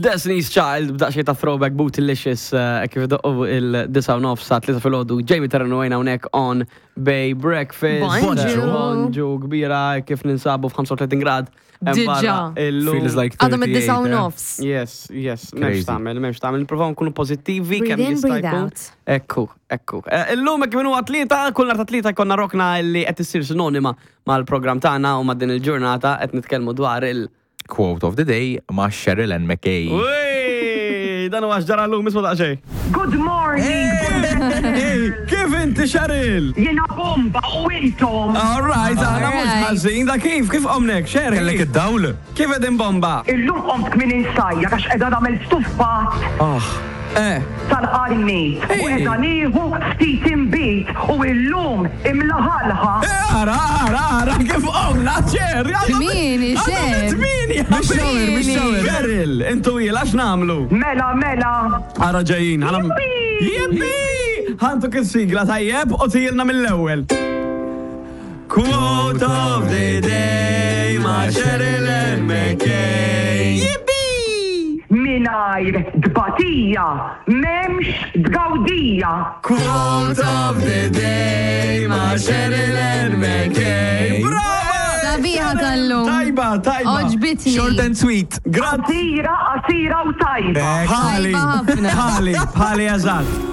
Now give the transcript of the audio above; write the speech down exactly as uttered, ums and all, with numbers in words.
Destiny's Child b'daqsxejn ta' throwback Bootylicious eh, kif doqqu id-disgħa u nofs sa tlieta filgħodu. Jamie Terrano hawnhekk on Bay Breakfast. Bonġu. Bonġu kbira kif ninsabu f'ħamsa u tletin grad hemm Diġà. Barra illum. Feels like Għadhom id-disgħa u thirty-eight, eh? nofs. Yes, yes, m'hemmx Crazy. tagħmel, m'hemmx tagħmel. Nippruvaw nkunu pożittivi Breathe kemm in, jista' breathe jkun. out. Ekku, ekku. Eh, Illum hekk minn huwa Tlieta, kull nhar ta' Tlieta jkollna rokna li qed issir sinonima mal-programm tagħna u ma' din il-ġurnata qed nitkellmu dwar il- Quote of the day ma' Cheryl Ann McKay. Uy, dan huwa x'ġara llum, isma' daqsxejn. Good morning! Kif inti, Cheryl? Jiena bomba, u intom? All right, aħna mhux Alright. ħażin, da kif, kif qomnek, Cheryl? Kellek id-dawl? Kif qegħdin bomba? Illum qomt minn insajja għax qiegħda nagħmel stuffat Ah. Eh, tal-qarnit u Hey. qiegħda nieħu ftit inbid u illum imlaħalħa. Eh, ara, ara, ara, kif qomna, Cher? Kmieni, Cher. Kmieni, Mix-shower, mix-shower. Cheryl, intu jil, għax nagħmlu? Mela, mela. Ara ġejjin, ħana. Jippi! Ħa ntuk il-sigla tajjeb u tgħidilna mill-ewwel. Quote of the day ma' Cheryl Ann McKay. Jippi! Mingħajr tbatija, m'hemmx tgawdija. Quote of the day ma' Cheryl Ann McKay. Brava! Sabiħa tal-lum. Tajba, tajba. Għoġbitni. Short and sweet. Grazzi. Qasira, qasira u tajba. Bħali, Tajba ħafna. bħali, bħali eżatt.